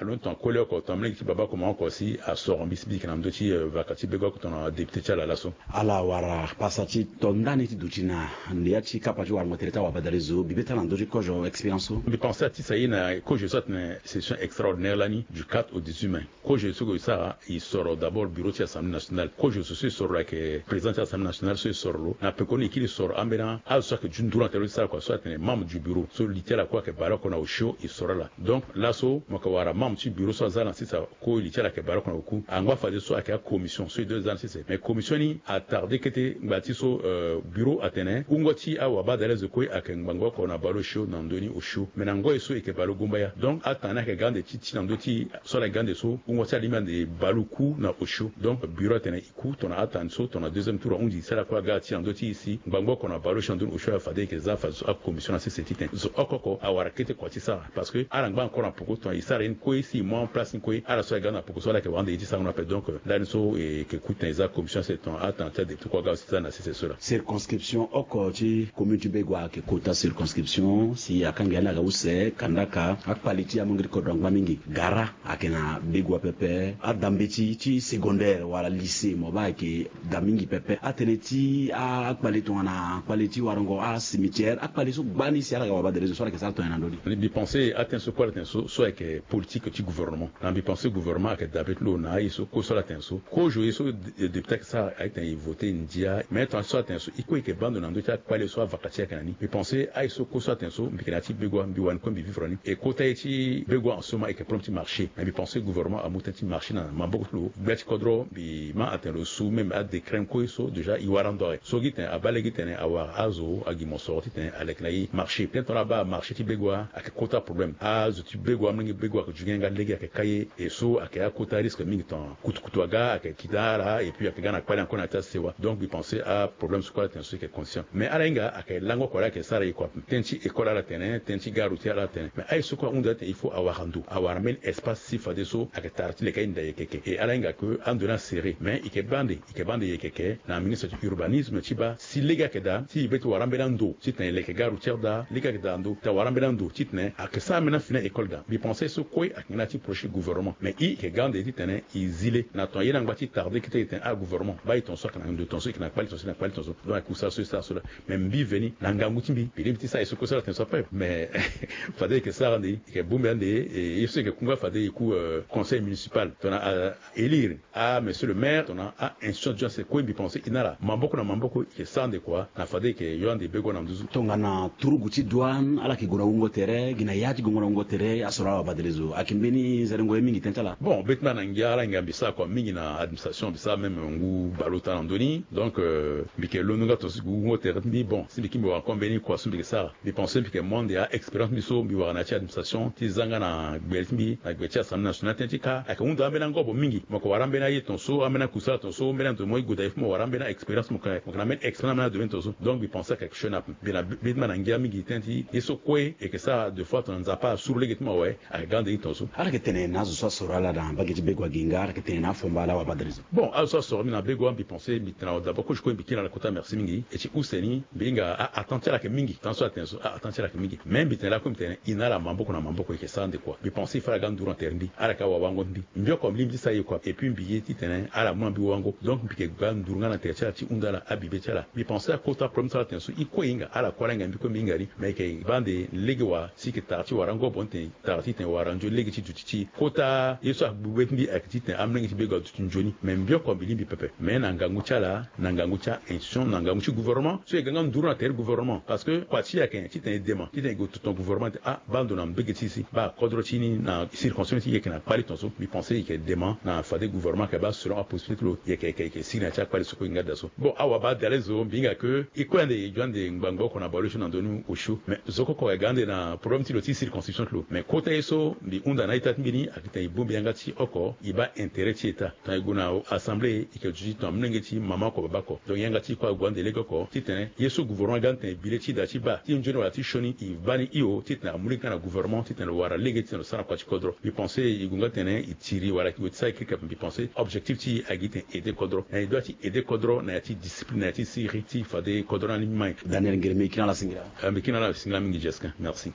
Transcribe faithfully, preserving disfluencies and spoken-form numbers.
Lo ni tongana koli oko tongana molenge ti baba oko mama oko si asoro mbi si mbi yeke na ndö ti vaka ti bego oko tongana député ti ala laso. Ala wara pasa ti to ndani ti duti na ya ti kapa ti warango tere ti awabadalezo bibe ti ala na ndö ti kozo expérience so. Mbi pense ati sa ye na kozo so atene session extraordinaire lani du quatre au dix-huit mai. Kozo so e sara e soro d'abord bureau ti assemblée nationale. Kozo so so e soro lo ayeke président ti assemblée nationale so e soro lo na pekoni e kiri soro ambeni azo so ayeke ju nduru na tere ti sara kua so atene membre du bureau so li ti ala kue ayeke baleoko na osio e soro ala. Donc laso mo yeke wara membre ti bureau so aza na sisa kue li ti ala ayeke baleoko na oku angba fadeso ayeke acommission so e doit za na sisa. Mais commission ni atarde kete ngba ti so bureau atene wungo ti awabadalezo kue ayeke ngbangba oko na baleosio na ndö ni osio. Mais na ngoi so e yeke baleogumbaya donc atanga ni ayeke ga ande ti ti na ndö ti so ala ga ande so wungo ti alingbi ande baleoku na osio. Donc bureau atene e ku tongana atanga ni so tongana deuxième tour ahunzi si ala kue aga ti na ndö ti e si ngbangba oko na baleosio na ndö ni osio fade e yeke za fadeso acommission na sese titene zo oko oko awara kete kua ti sara. Parce que ala ngba encore na poko tongana e sara ye ni kue si e mu aplace ni kue ala so ayeke ga na poko so ala yeke wara ande ye ti sarango na ape. Donc ndani so e yeke ku titene e za commission sese tongana atanga ti adéputé kue aga aussi za na sese so laa. Circonscription oko ti commune ti Begoua ayeke kota circonscription si akanga ya ni aga use kandaka akpale ti amolenge ti kodro angba mingi. Gara ayeke na Begoua pepe. Adambeti ti secondaire wala lycée mo baa ayeke da mingi pepe. Atënë ti akpale tongana kpale ti warango acimetière akpale so gbani si ala ga wabadalezo so ala yeke sara tongana na ndö ni. Mbi pense atënë so kue ala tene so so ayeke politique ti gouvernement. Na mbi pense gouvernement ayeke dabe ti lo na aye so kue so ala tene so kozo ye so député ayeke sara ayeke tene e vote ndia. Mais tongana so ala tene so e kue e yeke baa ndo na ndö ti akpale so avaka ti e ayeke na ni. Mbi pense aye so kue so ala tene so mbi yeke na ya ti Begoua mbi wani kue mbi vivre ni e kota ye ti Begoua en ce moment e yeke problème ti marché. Mais mbi pense gouvernement amu tënë ti marché na maboko ti lo gbia ti kodro mbi ma atene lo su même adécret kue so déjà e wara ndo awe so gi tene abaa lege titene awara azo agi mosoro titene aleke na e marché. Tënë tongana abaa marché ti Begoua ayeke kota problème. Azo ti Begoua amolenge Begoua ayeke ju ge nga lege ayeke ka ye. E so ayeke akota risque mingi tongana kutukutu aga ayeke kita ala et puis ayeke ga na kpale encore na ya ti asewa. Donc mbi pense aproblème so kue ala tene so e yeke conscient. Mais ala hinga ayeke lango oko laa ayeke sara e kua. Tënë ti école ala tene tënë ti gare routière ala tene mais aye so kue ahunda atene il faut awara ndo awara mbeni espace si fadeso ayeke tara ti leke aye nda yeke ke. E ala hinga ke ando ni asere mais e yeke baa ande e yeke baa ande yeke ke na ministre ti urbanisme ti baa si lege ayeke daa ti e be ti wara ambeni ando titene e leke gare routière daa lege ayeke daa ndo titene awara ambeni ando titene ayeke sara ambeni afini école daa. Mbi pense so kue ayeke nga na ya ti projet gouvernement mais e yeke ga ande titene e zi le na tongana ye ni angba ti tarde kete e tene agouvernement baa e tongaso ayeke na ndo tongaso e yeke na kpali tongaso e yeke na kpali tongaso. Donc ayeke kusala so e sara so laa. Mais mbi veni na ngangu ti mbi mbi lingbi ti sara ye so kue so ala tene so ape mais fade e yeke sara ande e yeke bongbi ande. E ye so e yeke ku nga fade e ku conseil municipal tongana élire a monsieur le maire tongana a institution ti kue mbi pense e na ala maboko na maboko e yeke sara ande kua na fade e yeke yo ande Begoua na nduzu. Tongana turugu ti douane ala yeke gue na wungo tere gi na ya ti gongo na wungo tere asoro awabadalezo ayeke mbeni zaringo ye mingi tënë ti ala. Bon be ti mbi na ngia ala ngia mbi sara kua mingi na administration mbi sara même ngu baleota na ndö ni. Donc mbi yeke londo nga tongaso e gue wungo tere ti mbi bon si mbi kiri mbi wara encore mbeni kua so mbi yeke sara. Mbi pense mbi yeke mu ande a expérience ti mbi so mbi wara na ya ti administration ti za nga na gbele ti mbi na gbele ti assemblée nationale tënë ti ka ayeke hunda ambeni angobo mingi. Mo yeke wara ambeni aye tongaso ambeni akusala tongaso mbeni ando mo ye gue daa il faut mo wara ambeni a expérience mo yeke na ambeni expérience na ambeni adomaine tongaso. Donc mbi pense ayeke question ape mbi na be ti mbi na ngia mingi tënë ti ye so kue e yeke sara deux fois tongana Nzapa asuru lege ti mo awe. Ayeke ga ande ni tongaso. Ala yeke tene na azo so asoro ala na mbage ti Begoua gi nga ala yeke tene na afomba ala wabadalezo. Bon azo so asoro mbi na Begoua mbi pense mbi tene na awa d'abord kozo kue mbi kiri na ala kota merci mingi. E ti use ni mbi hinga a attente ti ala ayeke mingi tanga so ala tene so a attente ti ala ayeke mingi. Mais mbi tene lakue mbi tene e na ala maboko na maboko e yeke sara ande kua mbi pense il faut ala ga nduru na tere ti mbi ala yeke awawango ti mbi. Mbi oko mbi lingbi ti sara ye kua et puis mbi ye titene ala mu na mbi wango. Donc mbi yeke ga nduru nga na tere ti ala ti hunda ala abibe ti ala. Mbi pense akota problème so ala tene so e kue e hinga ala kue ala hinga mbi kue mbi hinga ni. Mais e yeke baa ande lege wa si e yeke tara ti wara angobo ni tene tara titene wara nzoni lege ti duti ti e kota ye so agbu be ti mbi ayeke titene amolenge ti Begoua aduti nzoni. Mais mbi oko mbi lingbi pepe mais na ngangu ti ala na ngangu ti a institution na ngangu ti gouvernement so e ga nga nduru na tere ti gouvernement parce que kua ti e ayeke titene e dema titene e gue tonga gouvernement titene ah baa ndo na mbege ti e si baa kodro ti ni na circonstance ti e yeke na kpale tongaso mbi pense e yeke dema na fade gouvernement ayeke baa selon apossibilité ti lo e yeke e yeke sigi na ya ti akpale so kue e nga daa so. Bon awabadalezo mbi hinga ke e kue ande e yeke ande ngbangba oko na baleosio na ndö ni osio mais zo kue oko ayeke ga ande na problème ti lo ti circonscription ti lo mais kota ye so mbi hunda na a-ita ti mbi ni ayeke titene e bongbi yanga ti oko e baa intérêt ti état. Tongana e gue na assemblée e yeke duti tongana molenge ti mama oko baba oko donc yanga ti e kue ague ande lege oko titene ye so gouvernement aga ni tene bi le ti e daa ti baa ti nzoni wala ti sioni e baa ni hio titene amu lege nga na gouvernement titene lo wara lege titene lo sara na kua ti kodro. Mbi pense e gue nga titene e tiri wala e gue ti sara e kirikiri ape mbi pense objectif ti e ayeke titene e aide kodro na e doit ti aide kodro na ya ti discipline na ya ti siriri ti fade kodro ni alingbi mai. Daniel Ngere mbi yeke na ala singila. Mbi yeke na ala singila mingi Jesquin merci.